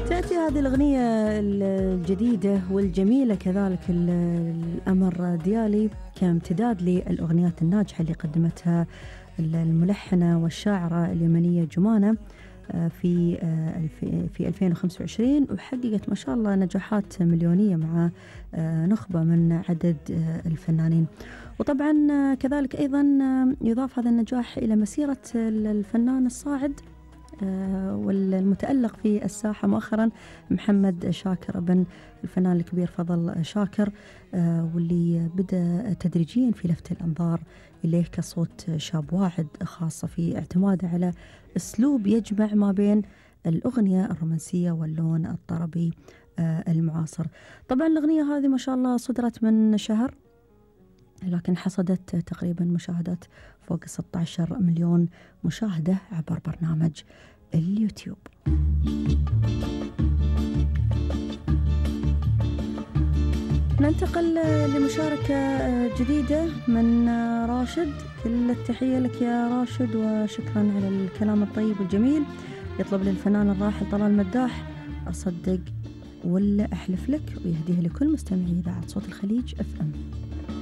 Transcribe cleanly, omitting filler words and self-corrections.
تأتي هذه الأغنية الجديدة والجميلة كذلك الأمر ديالي كامتداد للأغنيات الناجحة اللي قدمتها الملحنة والشاعرة اليمنية جمانة في 2025، وحققت ما شاء الله نجاحات مليونية مع نخبة من عدد الفنانين. وطبعا كذلك أيضا يضاف هذا النجاح إلى مسيرة الفنان الصاعد والمتألق في الساحة مؤخرا محمد شاكر ابن الفنان الكبير فضل شاكر، واللي بدأ تدريجيا في لفت الأنظار إليه كصوت شاب واعد، خاصة في اعتماده على أسلوب يجمع ما بين الأغنية الرومانسية واللون الطربي المعاصر. طبعا الأغنية هذه ما شاء الله صدرت من شهر، لكن حصدت تقريبا مشاهدات فوق 16 مليون مشاهدة عبر برنامج اليوتيوب. ننتقل لمشاركة جديدة من راشد. كل التحية لك يا راشد وشكرا على الكلام الطيب والجميل. يطلب للفنان الراحل طلال مداح أصدق ولا أحلف لك، ويهديها لكل مستمعي إذاعة صوت الخليج FM.